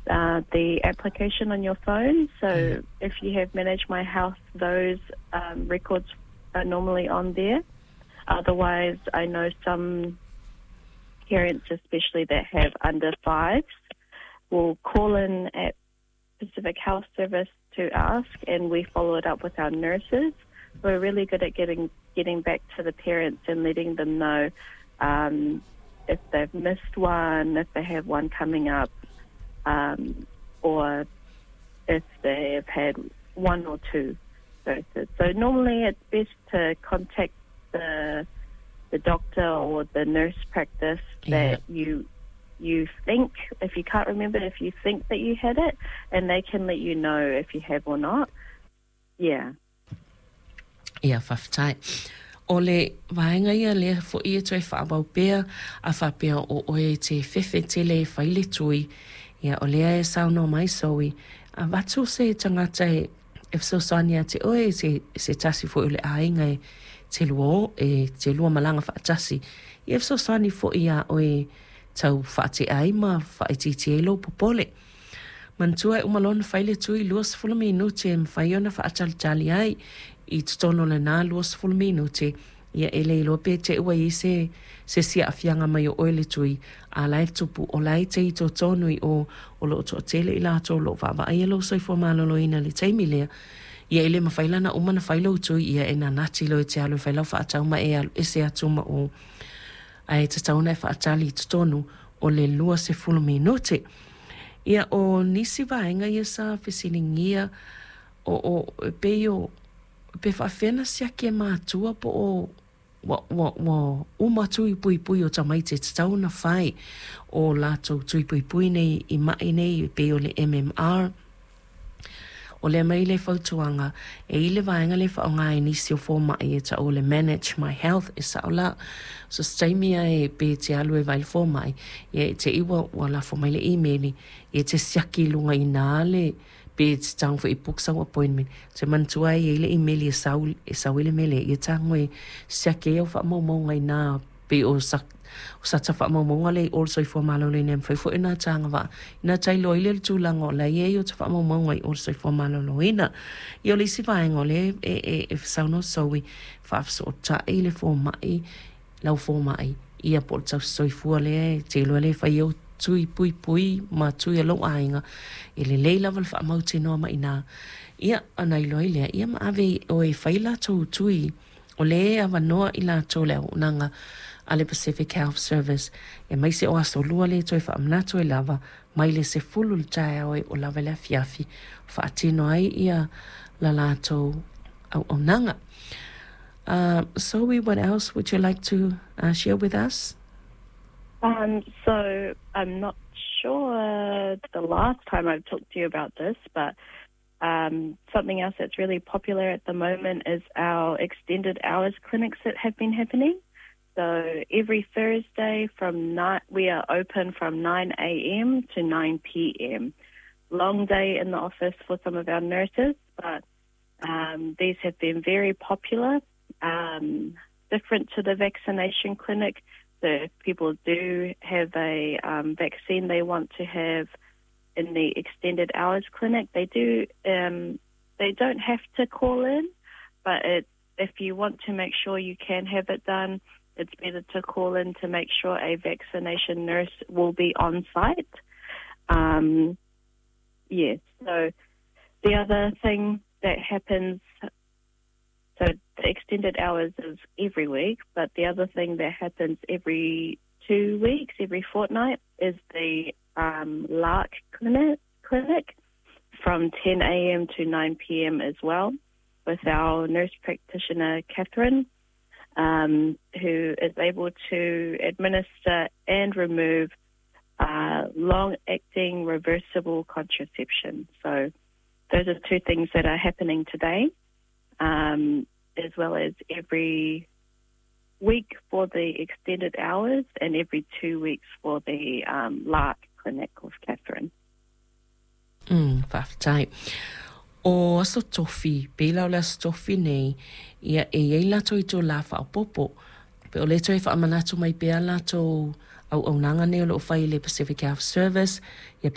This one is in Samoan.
The application on your phone. So if you have Manage My Health, those records are normally on there. Otherwise, I know some parents, especially that have under fives, will call in at Pacific Health Service to ask, and we follow it up with our nurses. We're really good at getting back to the parents and letting them know if they've missed one, if they have one coming up, or if they've had one or two doses. So normally it's best to contact the doctor or the nurse practice that you think, if you can't remember, if you think that you had it, and they can let you know if you have or not. Yeah. Ia, faafetai. O le vaega ia lea foʻi e toe faaauau pea a faapea o oe e te fefe tele e fai le tui, ia o lea e saunoa mai Zoe, avatu se tagata e fesoasoani ia te oe, se tasi foʻi o le aiga e te lua o e te lua malaga faatasi, ia e fesoasoani foʻi iā oe tau faatea ai ma faaitiitia ai lou popole. Manatua e uma loa ona fai le tui 20 minute e mafai ona faatalitali ai i totonu o lena 20 minute, ia e le iloa pe te ua i ai se isi aafiaga mai o oe le tui a la e tupu o la e te i totonu i o o loo toatele i latou o loo vaavaaia lou soifua maloloina i le taimi lea, ia e le mafai la ona uma ona fai lou tui, ia e nanati loa e te alu e fai lau faatau ma e alu ese atu ma o, ae tatau ona e faatali i totonu o le 20 minute. Ia o nisi vaega ia sa fesiligia o e pei o pe faafefea ona siaki e matua po o ua uma tui puipui o tamaiti e tatau ona fai o latou tui puipui nei i mai nei e pei o le MMR. O lea mai le fautuaga e i le vaega lea e faaaoga e nisi o fomai e tau o le Manage My Health, e sao la. So se taimi lava e pe te alu e vaai i le fomai, ia e te i ua lafo mai le imeli, ia e te siaki i luga i ina le pe te tago foi e book sau appointment. Te manatua e i ai le imeli e sau ai le mea lea, ia tago e siaki ai au faamaumauga i ina pei o sata faamaumauga lea i o le Soifua Maloloina e mafai foi ona tagavaa ina tailoa ai lea le tulaga o la e i ai o ta faamaumauga i o le Soifua Maloloina. Ia o le isi vaega o lea e saunoa Zoe, faafesootai le fomai, lau fomai, ia po o le tausisoifua lea e te iloa lea e fai au tui puipui ma tui a lou aiga, e lelei lava le faamautinoa mai ina ia ona iloa ai lea, ia ma ave oe e fai latou tui o lea e avanoa i latou le auaunaga a le Pacific Health Service e maise o aso lua lea e toe faamanatu ai lava mai le 10 le taeao e oo lava i le afiafi faatino ai ia la latou auaunaga. Zoe, what else would you like to share with us? So I'm not sure the last time I've talked to you about this, but something else that's really popular at the moment is our extended hours clinics that have been happening. So every Thursday from 9, we are open from 9 a.m. to 9 p.m. Long day in the office for some of our nurses, but these have been very popular. Different to the vaccination clinic. So if people do have a vaccine they want to have in the extended hours clinic, they do. They don't have to call in, but if you want to make sure you can have it done, it's better to call in to make sure a vaccination nurse will be on site. Yes. So the other thing that happens, so the extended hours is every week, but the other thing that happens every 2 weeks, every fortnight, is the LARC clinic from 10 a.m. to 9 p.m. as well, with our nurse practitioner, Catherine, who is able to administer and remove long acting reversible contraception. So those are two things that are happening today, as well as every week for the extended hours and every 2 weeks for the LARC clinic with Catherine. Faafetai. O aso tofi, pei la o le aso tofi nei, ia e iai latou i itulā faaopoopo. Pe o le toe faamanatu mai pea latou auaunaga nei o loo fai i le Pacific Health Service, ia.